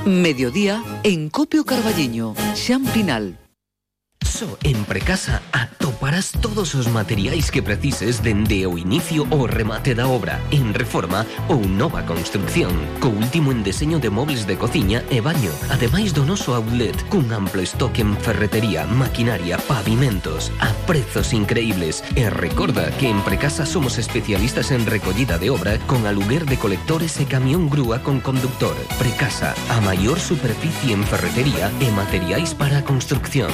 Mediodía en Copio Carballiño, Xan Pinal. Só en Precasa atoparás todos os materiais que precises dende o inicio ao remate da obra, en reforma ou nova construcción, co último en deseño de mobles de cociña e baño, ademais do noso outlet, cun amplo estoque en ferretería, maquinaria, pavimentos, a prezos increíbles. E recorda que en Precasa somos especialistas en recollida de obra con aluguer de colectores e camión grúa con conductor. Precasa, a maior superficie en ferretería e materiais para a construcción.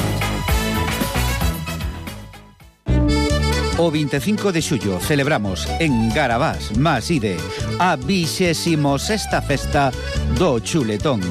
O 25 de xullo celebramos en Garabás, Maside, a 26ª festa do chuletón.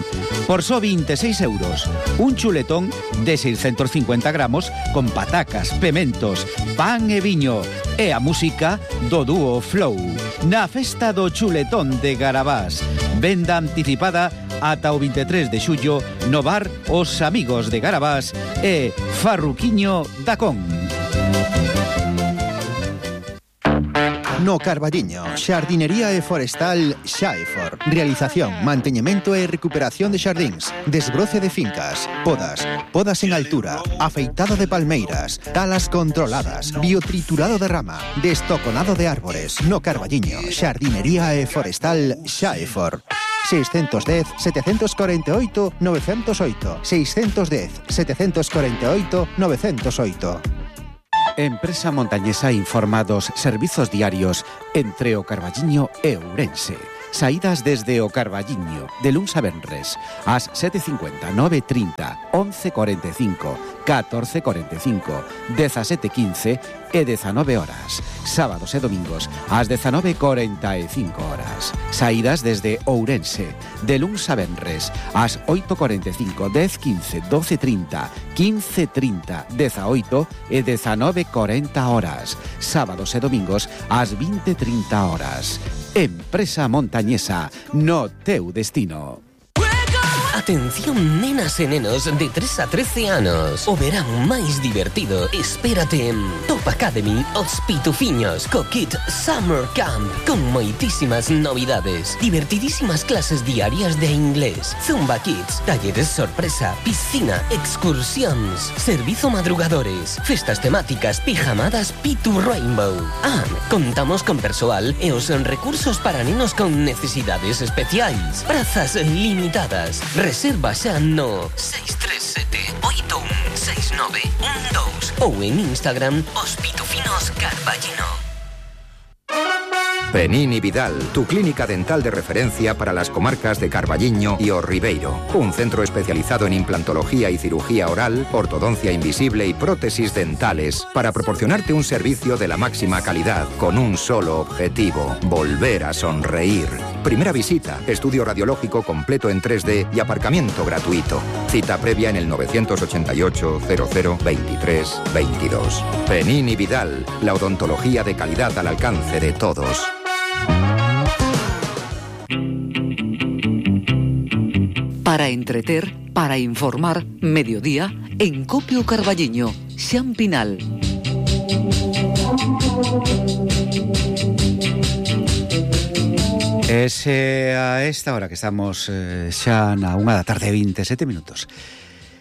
Por só 26 euros, un chuletón de 650 gramos con patacas, pementos, pan e viño e a música do dúo Flow. Na festa do chuletón de Garabás, venda anticipada ata o 23 de xullo no bar Os Amigos de Garabás e Farruquiño da Con. No Carballiño, xardinería e forestal Xaefor. Realización, manteñemento e recuperación de xardíns, desbroce de fincas, podas en altura, afeitado de palmeiras, talas controladas, biotriturado de rama, destoconado de árbores. No Carballiño, xardinería e forestal Xaefor. 610 748 908 610 748 908. Empresa Montañesa informa dos servizos diarios entre o Carballiño e Ourense. Saídas desde o Carballiño, de luns a venres, ás 7:50, 9:30, 11:45, 14:45, 17:15 e 19 horas. Sábados e domingos, ás 19:45 horas. Saídas desde Ourense, de luns a venres, ás 8:45, 10:15, 12:30, 15:30, 18 e 19:40 horas. Sábados e domingos, ás 20:30 horas. Empresa Montañesa, no teu destino. Atención nenas e nenos de 3 a 13 anos. O verán máis divertido espérate en Top Academy Os Pitufiños co kit Summer Camp con moitísimas novidades, divertidísimas clases diarias de inglés, Zumba Kids, talleres sorpresa, piscina, excursións, servizo madrugadores, festas temáticas, pijamadas Pitu Rainbow. Contamos con persoal e os recursos para nenos con necesidades especiais. Prazas limitadas. Reserva xa no 637 816912 ou en Instagram Os Pitufinos Carballino. Penini Vidal, tu clínica dental de referencia para las comarcas de Carballiño y O Ribeiro. Un centro especializado en implantología y cirugía oral, ortodoncia invisible y prótesis dentales para proporcionarte un servicio de la máxima calidad con un solo objetivo: volver a sonreír. Primera visita, estudio radiológico completo en 3D y aparcamiento gratuito. Cita previa en el 988 00 23 22. Penini Vidal, la odontología de calidad al alcance de todos. Para entreter, para informar, mediodía en Copio Carballiño, Xan Pinal. A esta hora que estamos xa na 1:27 minutos.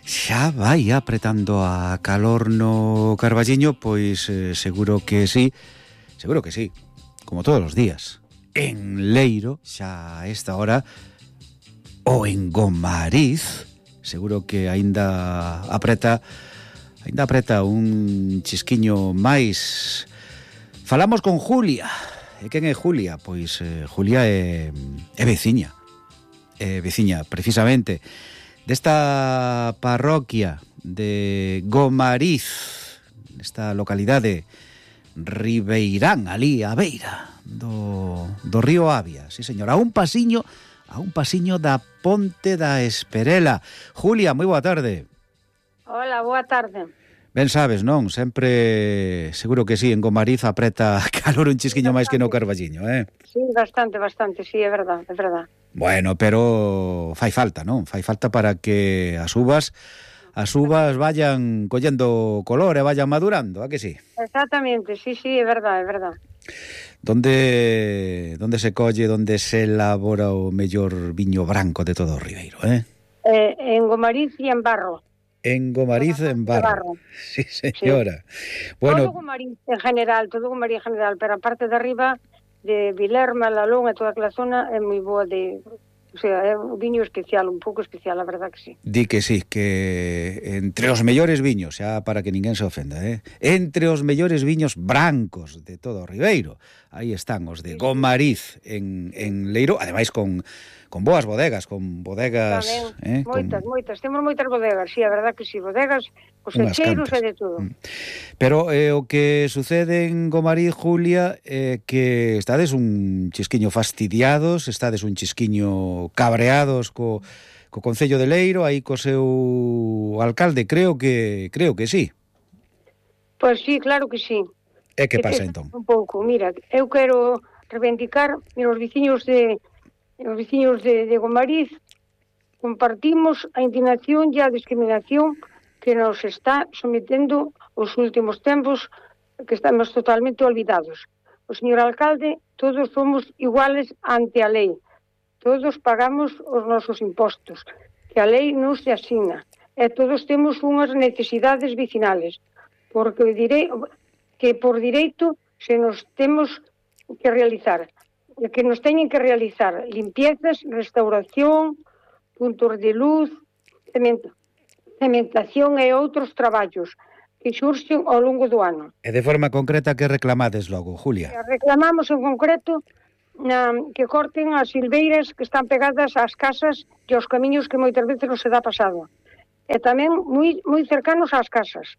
Xa vai apretando a calor no Carballiño, pois seguro que sí, como todos os días. En Leiro, xa a esta hora, ou en Gomariz, seguro que aínda apreta un chisquiño máis. Falamos con Julia. E quen é Julia? Pois Julia é veciña. É veciña, precisamente, desta parroquia de Gomariz, nesta localidade Ribeirán, ali a beira do río Avia. Sí, señor, a un pasiño da Ponte da Esperela. Julia, moi boa tarde. Hola, boa tarde. Ben sabes, non? Sempre, seguro que sí, en Gomariz apreta calor un chisquiño máis que no Carballiño, Sí, bastante, sí, é verdad. Bueno, pero fai falta, non? Fai falta para que as uvas vayan collendo color e vayan madurando, a que sí? Exactamente, sí, é verdad. Donde se colle, donde se elabora o mellor viño branco de todo o Ribeiro, En Gomariz e en Barro. En Gomariz, en Barro. Sí, señora. Sí. Bueno, todo Gomariz en general, pero a parte de arriba, de Vilerma, Lalón e toda aquela zona é moi boa de... O sea, é un viño especial, un pouco especial, a verdad que sí. Di que sí, que entre os mellores viños, xa para que ninguén se ofenda, entre os mellores viños brancos de todo o Ribeiro, aí están os de Gomariz en Leiro, ademais con boas bodegas, con bodegas... Tamén, moitas, temos moitas bodegas, sí, a verdad que sí, bodegas, cosecheiros e de todo. Pero o que sucede en Gomariz, Julia, que estades un chisquiño fastidiados, estades un chisquiño cabreados co Concello de Leiro, aí co seu alcalde, creo que sí. Pois sí, claro que sí. E que pasa entón? Un pouco, mira, eu quero reivindicar, mira, os veciños de Gomariz compartimos a indignación e a discriminación que nos está sometendo os últimos tempos, que estamos totalmente olvidados. O señor alcalde, todos somos iguales ante a lei. Todos pagamos os nosos impostos, que a lei non se asigna, e todos temos unhas necesidades vecinales, porque direi que por direito se nos temos que realizar, que nos teñen que realizar limpiezas, restauración, puntos de luz, cementación e outros traballos que xurxen ao longo do ano. E de forma concreta que reclamades logo, Julia? Reclamamos en concreto que corten as silveiras que están pegadas ás casas e aos camiños que moitas veces non se dá pasado. E tamén moi cercanos ás casas.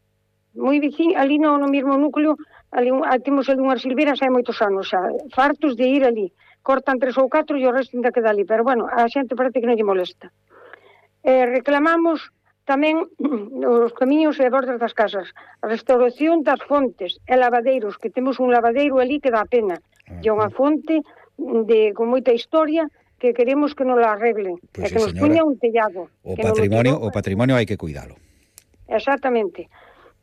Moi veciño, ali no mesmo núcleo, ali temos ali unhas silveiras hai moitos anos, xa, fartos de ir ali. Cortan 3 ou 4 e o resto ainda queda ali, pero bueno, a xente parece que non lle molesta. Reclamamos tamén os camiños e bordas das casas, a restauración das fontes e lavadeiros, que temos un lavadeiro ali que dá pena, e unha fonte con moita historia que queremos que nos la arregle, pues e que nos puña un tellado. O patrimonio hai que cuidalo. Exactamente.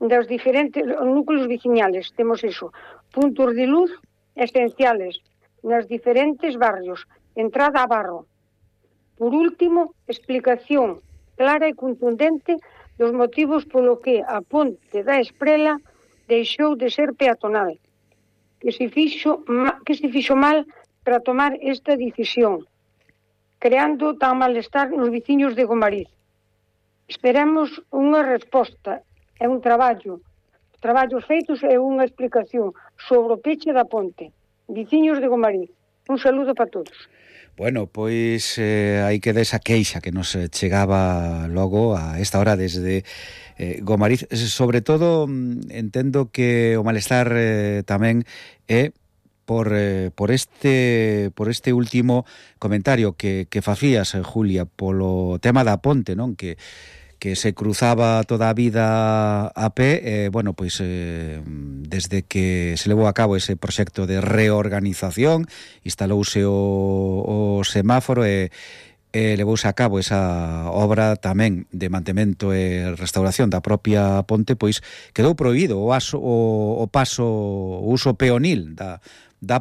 Dos diferentes núcleos veciñales temos iso, puntos de luz esenciales nos diferentes barrios, entrada a Barro. Por último, explicación clara e contundente dos motivos polo que a ponte da Esprela deixou de ser peatonal, que se fixo mal para tomar esta decisión, creando tan malestar nos veciños de Gomariz. Esperamos unha resposta e un traballos feitos e unha explicación sobre o peche da ponte. Veciños de Gomariz, un saludo para todos. Bueno, pois hai que desa queixa que nos chegaba logo a esta hora desde Gomariz. Sobre todo, entendo que o malestar tamén é por este último comentario que facías, Julia, polo tema da ponte, non? Que se cruzaba toda a vida a pé, bueno, pois desde que se levou a cabo ese proxecto de reorganización, instalouse o semáforo e levouse a cabo esa obra tamén de mantemento e restauración da propia ponte, pois quedou prohibido o uso peonil da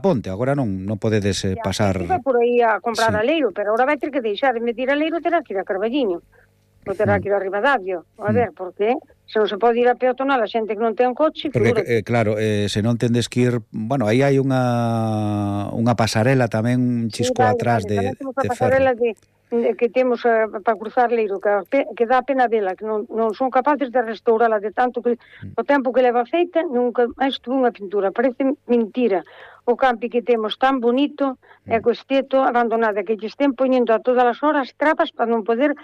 ponte. Agora non podedes pasar... Vai por aí a comprar a Leiro, pero agora vai ter que deixar de meter a Leiro, terá que ir a Carballiño. Non terá que ir a Ribadavia. A ver, porque se non se pode ir a peatonal a xente que non ten coche... Porque, claro, se non tendes que ir... Bueno, aí hai unha pasarela tamén un chisco atrás de ferro. A pasarela que temos para cruzar Leiro, que dá pena vela, que non son capaces de restaurala de tanto que o tempo que leva feita, nunca máis tuvo unha pintura. Parece mentira. O campi que temos tan bonito e co esteto abandonada, que lle estén poñendo a todas as horas trapas para non poder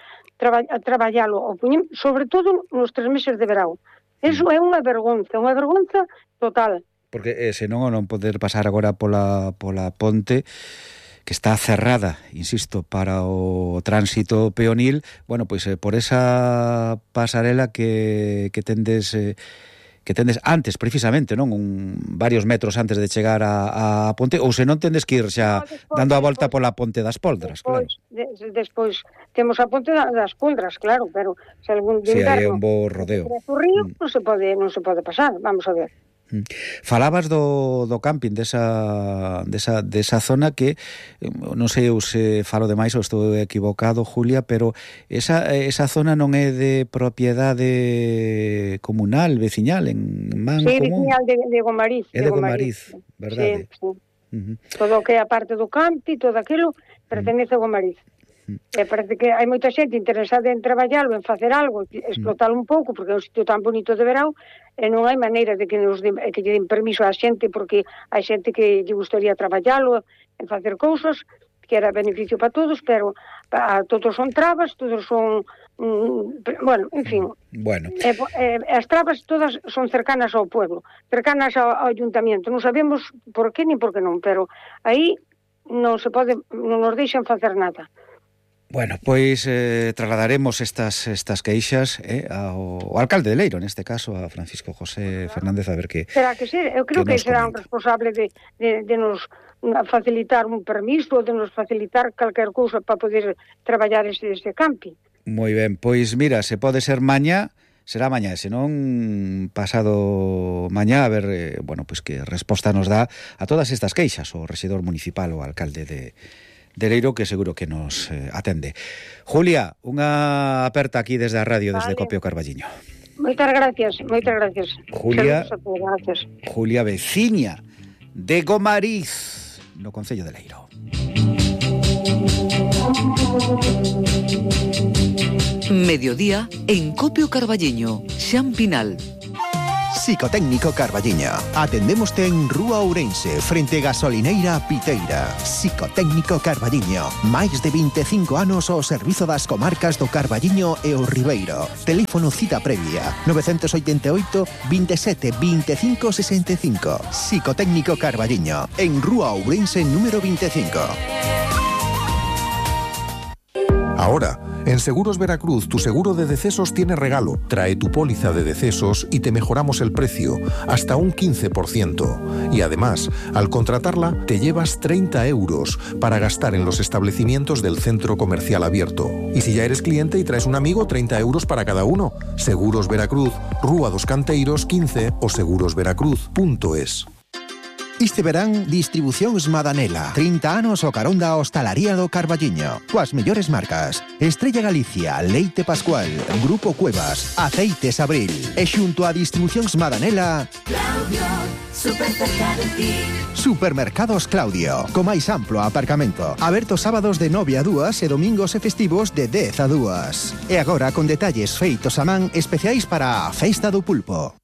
traballalo, sobre todo nos 3 meses de verão. Eso é unha vergonza total. Porque senón o non poder pasar agora pola ponte, que está cerrada, insisto, para o tránsito peonil, bueno, pois por esa pasarela que tendes antes, precisamente, non? Varios metros antes de chegar a ponte, ou se non tendes que ir xa dando a volta pola ponte das Poldras, claro. Despois temos a ponte das Poldras, claro, pero se algún de inverno... Si hai un bo rodeo. O río non se pode pasar, vamos a ver. Falabas do camping desa zona que non sei se falo demais ou estou equivocado, Julia, pero esa zona non é de propiedade comunal, veciñal, en man común. Veciñal de Gomariz. É de Gomariz, verdade? Sí. Todo o que é a parte do campi, todo aquilo pertenece a Gomariz. Parece que hai moita xente interesada en traballalo, en facer algo, explotalo un pouco, porque é un sitio tan bonito de verão, e non hai maneira de que lle den permiso á xente, porque hai xente que lle gustaría traballalo, en facer cousas, que era beneficio para todos, pero todos son trabas, todos son... bueno, en fin. Bueno. As trabas todas son cercanas ao pueblo, cercanas ao ayuntamiento. Non sabemos por qué nin por qué non, pero aí non se pode, non nos deixan facer nada. Bueno, pois trasladaremos estas queixas ao alcalde de Leiro, neste caso, a Francisco José Fernández, a ver que... Será que sí? Eu creo que será un responsable de nos facilitar un permiso, de nos facilitar calquer cousa para poder traballar ese camping. Moi ben, pois mira, se pode ser mañá, será mañá, senón pasado mañá, a ver, pois que resposta nos dá a todas estas queixas o rexedor municipal ou alcalde de Leiro, que seguro que nos atende. Julia, unha aperta aquí desde a radio, desde Copio Carballiño. Moitas gracias. Julia veciña de Gomariz, no concello de Leiro. Mediodía en Copio Carballiño, Xan Pinal. Psicotécnico Carballiño. Atendémoste en Rúa Ourense, frente Gasolineira Piteira. Psicotécnico Carballiño. Máis de 25 anos ao servizo das comarcas do Carballiño e o Ribeiro. Teléfono cita previa 988 27 25 65. Psicotécnico Carballiño. En Rúa Ourense número 25. Ahora, en Seguros Veracruz, tu seguro de decesos tiene regalo. Trae tu póliza de decesos y te mejoramos el precio, hasta un 15%. Y además, al contratarla, te llevas 30 euros para gastar en los establecimientos del centro comercial abierto. Y si ya eres cliente y traes un amigo, 30 euros para cada uno. Seguros Veracruz, Rúa dos Canteiros 15 o segurosveracruz.es. Este verán, Distribucións Madanela. 30 anos o carón da hostalaría do Carballiño. Coas mellores marcas: Estrella Galicia, Leite Pascual, Grupo Cuevas, Aceites Abril. E xunto a Distribucións Madanela, Claudio, super cerca de ti. Supermercados Claudio, co máis amplo aparcamento. Aberto sábados de 9 a 2 e domingos e festivos de 10 a 2. E agora con detalles feitos a man especiais para a Festa do Pulpo.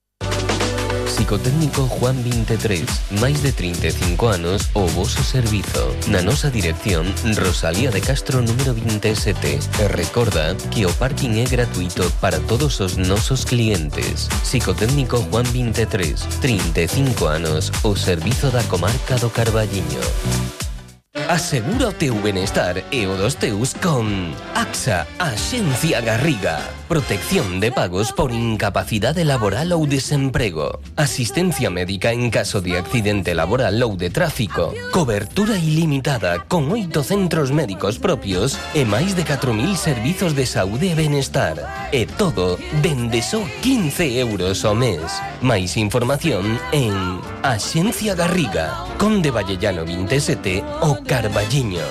Psicotécnico Juan 23, máis de 35 anos o voso servizo. Na nosa dirección, Rosalía de Castro número 27. E recorda que o parking é gratuito para todos os nosos clientes. Psicotécnico Juan 23, 35 anos o servizo da comarca do Carballiño. Asegura o teu benestar e o dos teus con AXA, Axencia Garriga. Protección de pagos por incapacidade laboral ou desemprego. Asistencia médica en caso de accidente laboral ou de tráfico. Cobertura ilimitada con 8 centros médicos propios e máis de 4.000 servizos de saúde e benestar. E todo dende só 15 euros ao mes. Máis información en Axencia Garriga, Conde Vallellano 27 o Carballiño.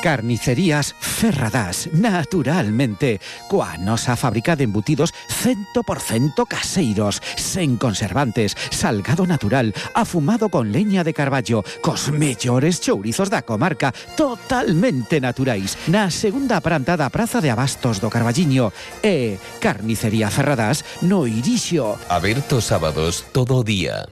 Carnicerías Ferradás, naturalmente, coa nosa fábrica de embutidos 100% caseiros, sen conservantes, salgado natural, afumado con leña de carballo, cos mellores chourizos da comarca, totalmente naturais, na segunda planta da Praza de Abastos do Carballiño. E Carnicería Ferradás no Irixo. Aberto sábados todo o día.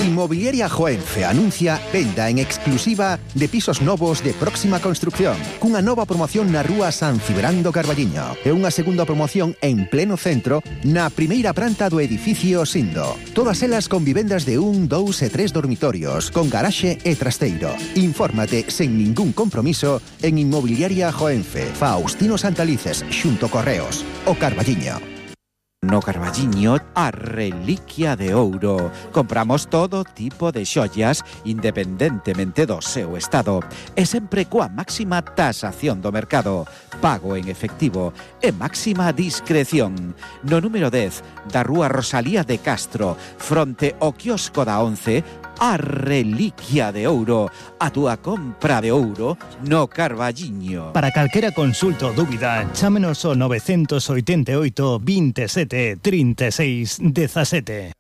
Inmobiliaria Joenfe anuncia venda en exclusiva de pisos novos de próxima construcción, cunha nova promoción na rúa San Cibrán do Carballiño e unha segunda promoción en pleno centro na primeira planta do edificio Sindo. Todas elas con vivendas de 1, 2 e 3 dormitorios, con garaxe e trasteiro. Infórmate sen ningún compromiso en Inmobiliaria Joenfe, Faustino Santalices, xunto Correos, o Carballiño. No Carballiño, a reliquia de ouro. Compramos todo tipo de xollas independentemente do seu estado e sempre coa máxima tasación do mercado, pago en efectivo e máxima discreción. No número 10 da rúa Rosalía de Castro, fronte ao quiosco da 11, a reliquia de ouro, a túa compra de ouro no Carballiño. Para calquera consulta ou dúbida, chámenos ao 988 27 36 17.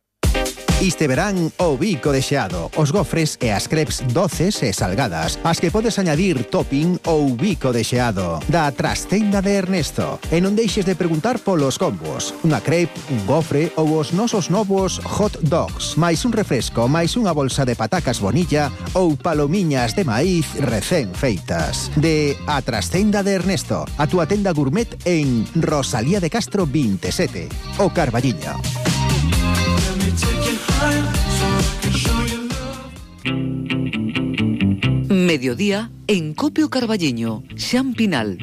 Este verán o bico de xeado, os gofres e as crepes doces e salgadas, as que podes añadir topping ou bico de xeado, da Trastenda de Ernesto. E non deixes de preguntar polos combos, unha crepe, un gofre ou os nosos novos hot dogs, máis un refresco, máis unha bolsa de patacas bonilla ou palomiñas de maíz recén feitas. De A Trastenda de Ernesto, a túa tenda gourmet en Rosalía de Castro 27, o Carballiño. Mediodía en Copio Carballiño, Xan Pinal.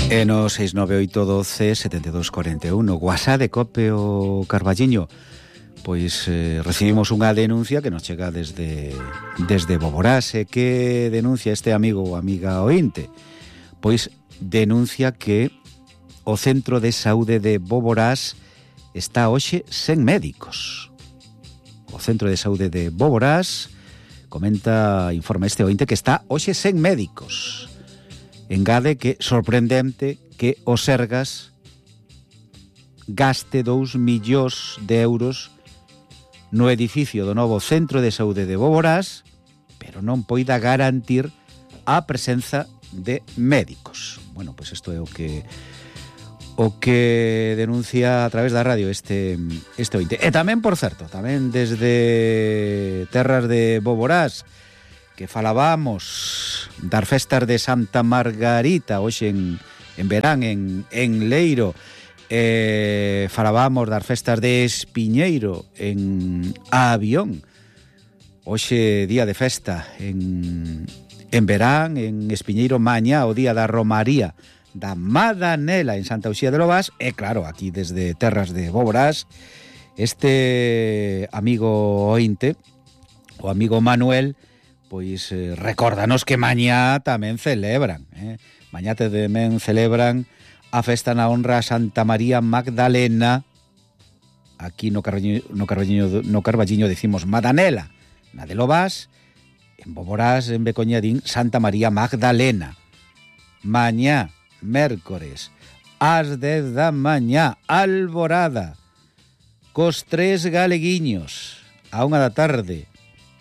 E no 69812-7241, WhatsApp de Copio Carballiño. Pois recibimos unha denuncia que nos chega desde Boborás. E que denuncia este amigo ou amiga ointe? Pois denuncia que o Centro de Saúde de Boborás está hoxe sen médicos. O Centro de Saúde de Boborás informa este ointe que está hoxe sen médicos. Engade que sorprendente que o Sergas gaste 2 millóns de euros no edificio do novo Centro de Saúde de Boborás, pero non poida garantir a presenza de médicos. Bueno, pois isto é o que denuncia a través da radio este ointe. E tamén, por certo, tamén desde terras de Boborás, que falábamos das festas de Santa Margarita hoxe en verán en Leiro, falábamos das festas de Espiñeiro en Avión, hoxe día de festa en verán en Espiñeiro, mañá o día da Romaría da Madanela en Santa Uxía de Lobás. E claro, aquí desde terras de Boborás, este amigo ointe, o amigo Manuel, pois recórdanos que mañá tamén celebran, mañá tamén celebran a festa na honra a Santa María Magdalena. Aquí no Carballiño decimos Madanela, na de Lobás. En Boborás, en Becoñadín, Santa María Magdalena. Mañá mércores, ás 10 da mañá, alborada, cos 3 galeguiños, a 1 da tarde,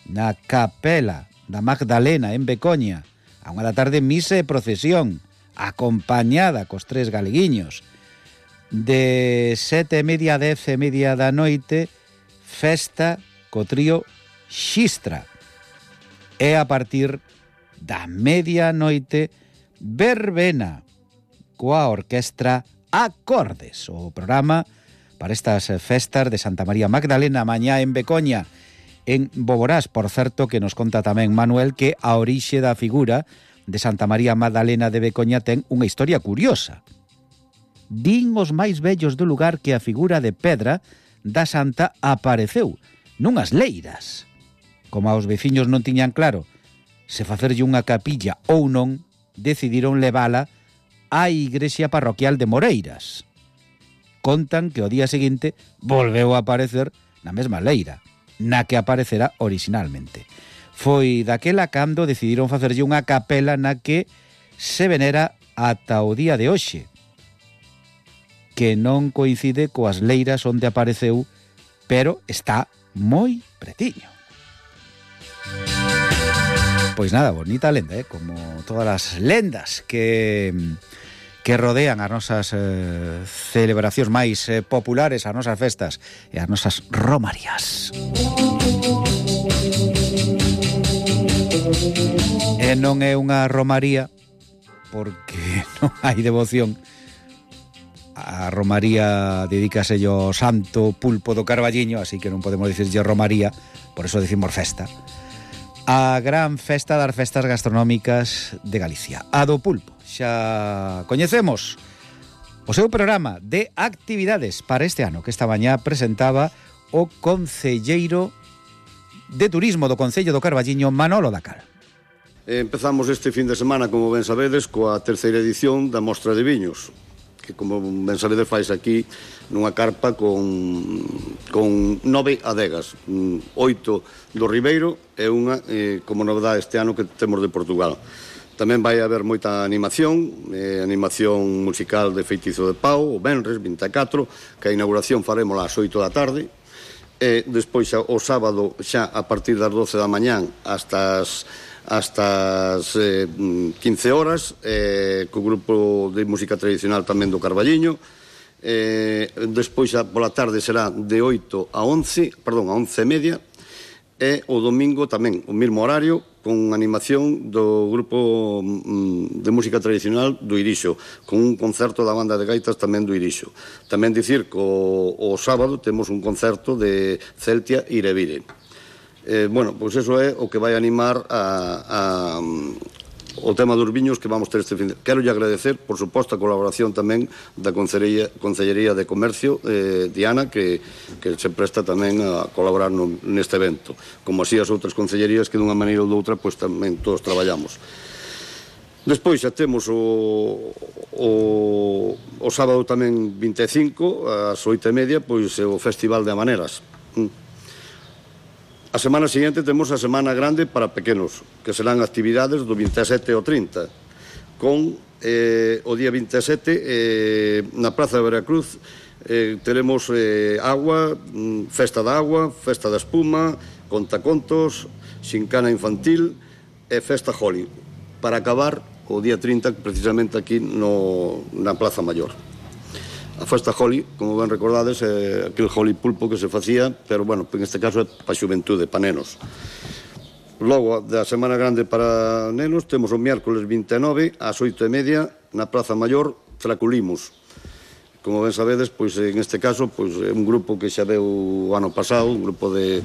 na capela da Magdalena, en Becoña, a 1 da tarde, misa e procesión, acompañada cos 3 galeguiños. De 7:30 a 10:30 da noite, festa co trío Xistra. E a partir da medianoite, verbena coa orquestra Acordes, o programa para estas festas de Santa María Magdalena mañá en Becoña, en Boborás. Por certo, que nos conta tamén Manuel que a orixe da figura de Santa María Magdalena de Becoña ten unha historia curiosa. Din os máis vellos do lugar que a figura de pedra da santa apareceu nunhas leiras. Como aos veciños non tiñan claro se facerlle unha capilla ou non, decidiron levala á igrexa parroquial de Moreiras. Contan que o día seguinte volveu a aparecer na mesma leira na que aparecera originalmente. Foi daquela cando decidiron facerlle unha capela na que se venera ata o día de hoxe, que non coincide coas leiras onde apareceu, pero está moi pretiño. Pois nada, bonita lenda, como todas as lendas que rodean as nosas celebracións máis populares, as nosas festas e as nosas romarías. E non é unha romaría porque non hai devoción. A romaría dedícase ao santo pulpo do Carballiño, así que non podemos dicirlle romaría, por eso decimos festa. A gran festa das festas gastronómicas de Galicia, a do pulpo. Xa coñecemos o seu programa de actividades para este ano, que esta mañá presentaba o concelleiro de Turismo do Concello do Carballiño, Manolo Dacal. Empezamos este fin de semana, como ben sabedes, coa terceira edición da Mostra de Viños, que, como ben sabedes, fais aquí nunha carpa con 9 adegas, 8 do Ribeiro e unha, como novedade este ano, que temos de Portugal. Tamén vai haber moita animación musical de Feitizo de Pau, o venres 24, que a inauguración faremos ás 8 da tarde, e despois o sábado, xa a partir das 12 da mañán hasta as 15 horas, co grupo de música tradicional tamén do Carballiño. Despois pola tarde será de 8 a 11, perdón, a 11:30, e o domingo tamén o mesmo horario, con animación do grupo de música tradicional do Irixo, con un concerto da banda de gaitas tamén do Irixo. Tamén dicir que o sábado temos un concerto de Celtia Irevire. Bueno, pois eso é o que vai animar o tema dos viños que vamos ter este fin de... Quero lle agradecer, por suposto, a colaboración tamén da Concellería de Comercio, Diana, que se presta tamén a colaborar neste evento, como así as outras concellerías que dunha maneira ou doutra pois tamén todos traballamos. Despois xa temos o sábado tamén 25, ás 8:30, pois o Festival de Hamaneras. A semana seguinte temos a Semana Grande para pequenos, que serán actividades do 27 ao 30, con o día 27 na Praza de Veracruz teremos agua, festa da agua, festa da espuma, contacontos, xincana infantil e festa Holi, para acabar o día 30 precisamente aquí na Plaza Maior. A festa Holi, como ben recordades, é aquel Holi pulpo que se facía, pero, bueno, en este caso é para a xuventude, para nenos. Logo, da Semana Grande para nenos, temos o miércoles 29, ás 8:30, na Praza Maior, Traculimos. Como ben sabedes, pois, en este caso, pois, é un grupo que xa veu o ano pasado, un grupo de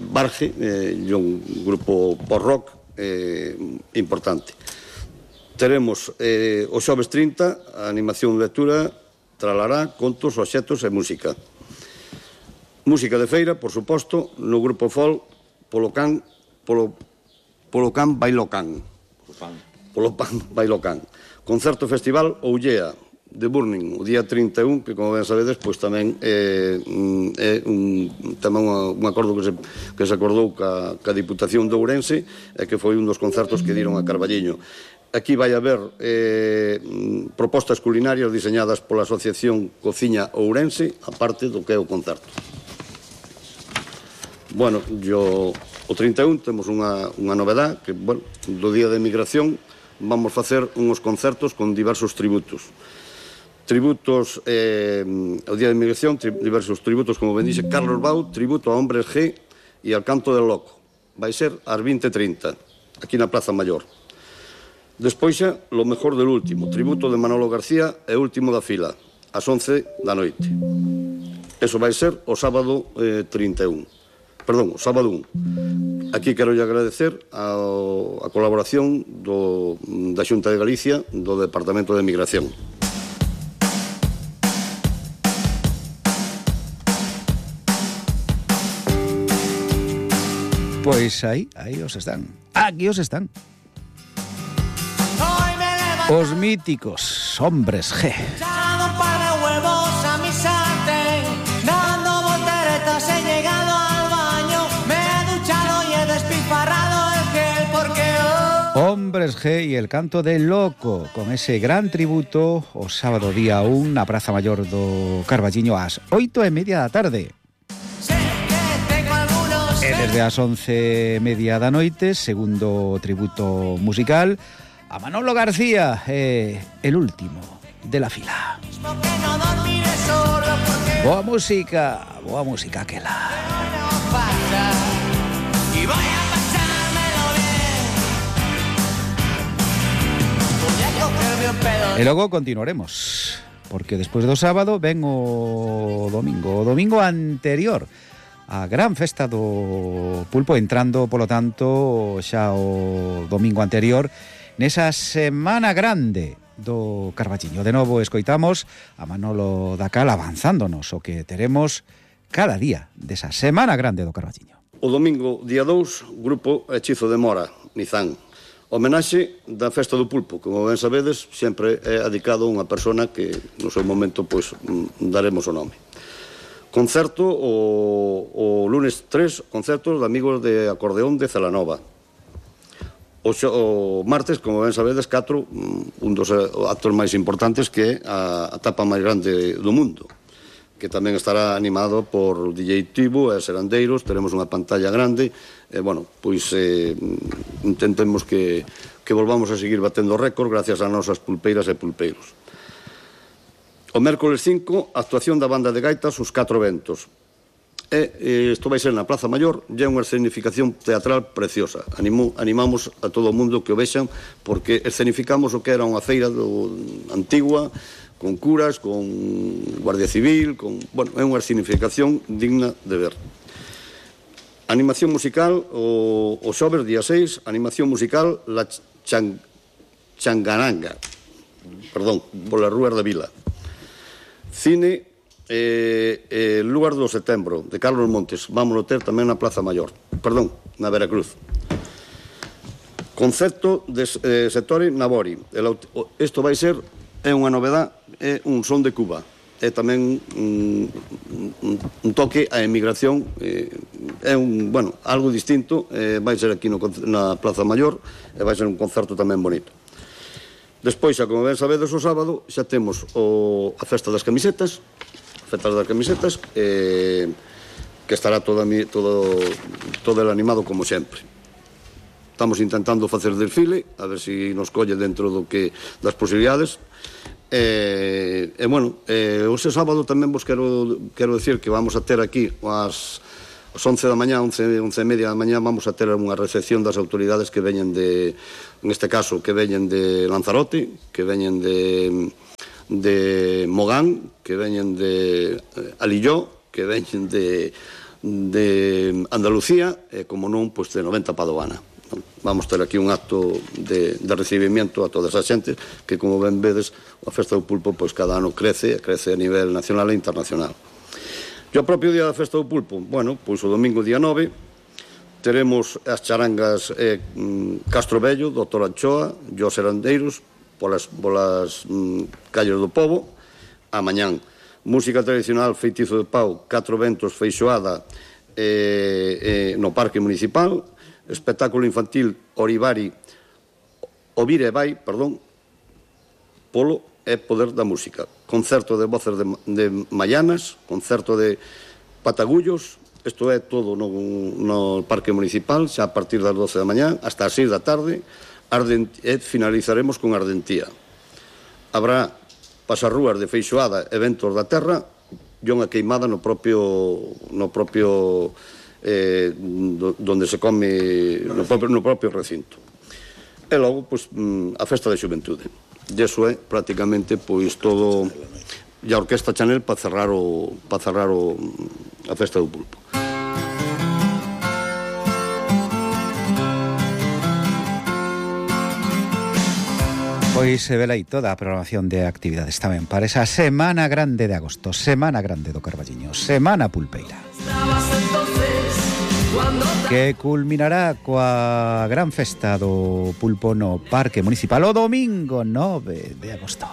Barge, un grupo post-rock importante. Teremos o xoves 30, a animación de lectura, tralará, contos, obxectos e música. Música de feira, por suposto, no grupo folk, Polo Can Bailocán. Polo Pan Bailocán. Concerto festival Ollea, de Burning, o día 31, que, como ben sabedes, pois tamén é un acordo que se acordou ca Diputación de Ourense, e que foi un dos concertos que diron a Carballiño. Aquí vai haber propostas culinarias diseñadas pola Asociación Cociña Ourense, aparte do que é o concerto. Bueno, o 31 temos unha novedad, que, bueno, do Día de Migración vamos facer uns concertos con diversos tributos. O Día de Migración, diversos tributos, como ben dixe, Carlos Bau, tributo a Hombres G e al Canto del Loco. Vai ser ás 20:30, aquí na Plaza Maior. Despois xa, lo mejor del último, tributo de Manolo García e último da fila, ás 11 da noite. Eso vai ser o sábado 31. Perdón, o sábado 1. Aquí quero agradecer a colaboración da Xunta de Galicia, do Departamento de Migración. Pois aí os están. Aquí os están. Os míticos Hombres G. Hombres G y el Canto del Loco, con ese gran tributo o sábado día 1 na Praza Maior do Carballiño ás 8:30 da tarde. E desde as 11:30 da noite, segundo tributo musical a Manolo García, el último de la fila. Boa música aquela. E logo continuaremos, porque despois do sábado ven o domingo anterior a gran festa do pulpo, entrando, polo tanto, xa o domingo anterior nesa Semana Grande do Carballiño. De novo escoitamos a Manolo Dacal avanzándonos o que teremos cada día desa Semana Grande do Carballiño. O domingo, día 2, grupo Hechizo de Mora, Nizán. Homenaxe da Festa do Pulpo, como ben sabedes, sempre é dedicado a unha persona que no seu momento pois daremos o nome. Concerto o lunes 3, concertos de amigos de acordeón de Celanova. O martes, como ben sabedes, 4, un dos actos máis importantes que é a tapa máis grande do mundo, que tamén estará animado por DJ Tibo e Serandeiros. Teremos unha pantalla grande e, bueno, pois intentemos que volvamos a seguir batendo récord gracias ás nosas pulpeiras e pulpeiros. O mércoles 5, actuación da banda de gaitas Os 4 Ventos. Isto vai ser na Praza Maior, e é unha escenificación teatral preciosa. Animamos a todo o mundo que o vexan, porque escenificamos o que era unha feira antigua, con curas, con Guardia Civil, bueno, é unha escenificación digna de ver. Animación musical, o xoves, día 6, animación musical La Changaranga, perdón, polas rúas da Vila. Cine, Lugar do Setembro, de Carlos Montes. Vámonos ter tamén na Praza Maior, perdón, na Veracruz. Concerto de Settore Nabori. Isto vai ser, é unha novedade, é un son de Cuba. É tamén un toque á emigración, é bueno, algo distinto. Vai ser aquí na Praza Maior e vai ser un concerto tamén bonito. Despois, xa como ben sabedes, o sábado xa temos a Festa das Camisetas, que estará todo el animado como sempre. Estamos intentando facer desfile, a ver se nos colle dentro das posibilidades. Bueno, hoxe sábado tamén vos quero decir que vamos a ter aquí ás 11 da mañá, 11 e media da mañá, vamos a ter unha recepción das autoridades que veñen en este caso, que veñen de Lanzarote, que veñen de Mogán, que veñen de Alilló, que veñen de Andalucía, e como non, pois de 90 Padovana. Vamos ter aquí un acto de recibimiento a toda esa xente que, como ben vedes, a Festa do Pulpo pois cada ano crece a nivel nacional e internacional. E o propio día da Festa do Pulpo, bueno, pois o domingo día 9 teremos as charangas Castro Bello, Doutor Anchoa, Os Serandeiros, polas calles do Pobo. A mañán, música tradicional Feitizo de Pau, 4 Ventos, Feixoada no Parque Municipal. Espectáculo infantil Ovire e Vai, polo e poder da música. Concerto de voces de Maianas, concerto de Patagullos. Isto é todo no Parque Municipal, xa a partir das 12 da mañá hasta as 6 da tarde. E finalizaremos con Ardentía. Habrá pasarrúas de Feixoada, eventos da terra e unha queimada no propio donde se come no propio recinto. E logo, pois, a Festa da Xuventude. E iso é prácticamente pois todo, e a Orquesta Chanel para cerrar a Festa do Pulpo. Pois se vela aí toda a programación de actividades tamén para esa Semana Grande de agosto, Semana Grande do Carballiño, Semana Pulpeira, que culminará coa gran festa do pulpo no Parque Municipal o domingo 9 de agosto.